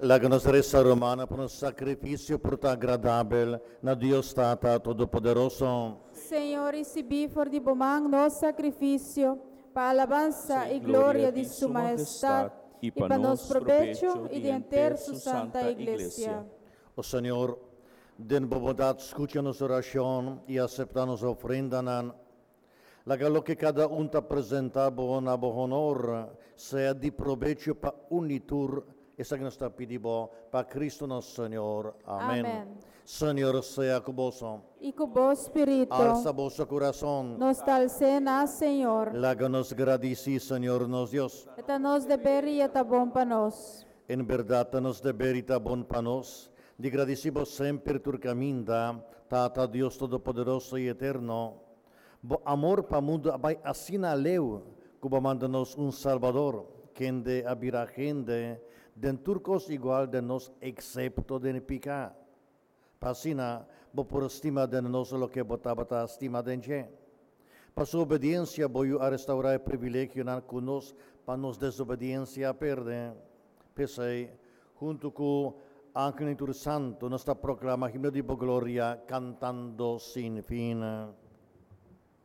Laga nos resa, rumannan, pa nos sakrifisio por ta agradabel na Dios Tata Todopoderoso. Señor, risibí for di bo man nos sakrifisio, pa alabansa i gloria di Su Mahestat, i pa nos probecho i di henter Su santa Iglesia. O Señor, den bo bondat skucha nos orashon i aseptá nos ofrendanan. Laga loke kada un ta presentá bo na bo honor sea di probecho pa un i tur. Esaki nos ta pidi bo pa Cristo nos Señor. Amèn. Amèn. Señor sea ku boso. I ku bo spiritu. Alsa boso kurason. Nos ta als'é na Señor. Laga nos gradisí Señor nos Dios. E ta nos deber i e ta bon pa nos. En bèrdat ta nos deber i ta bon pa nos di gradisí bo semper tur kaminda, Tata Dios Todopoderoso i Eterno. Bo amor pa mundu a bai asina leu ku bo a manda nos un Salbador, kende a bira hende den tur kos igual den nos eksepto den piká. Pa asina bo por stima den nos loke bo tabata stima den dje. Pa su obediensia bo yu a restaurá e privilegionan ku nos pa nos desobediensia a perde. P'esei, huntu ku angelnan i tur santu nos ta proklama himno di bo gloria kantando sin fin.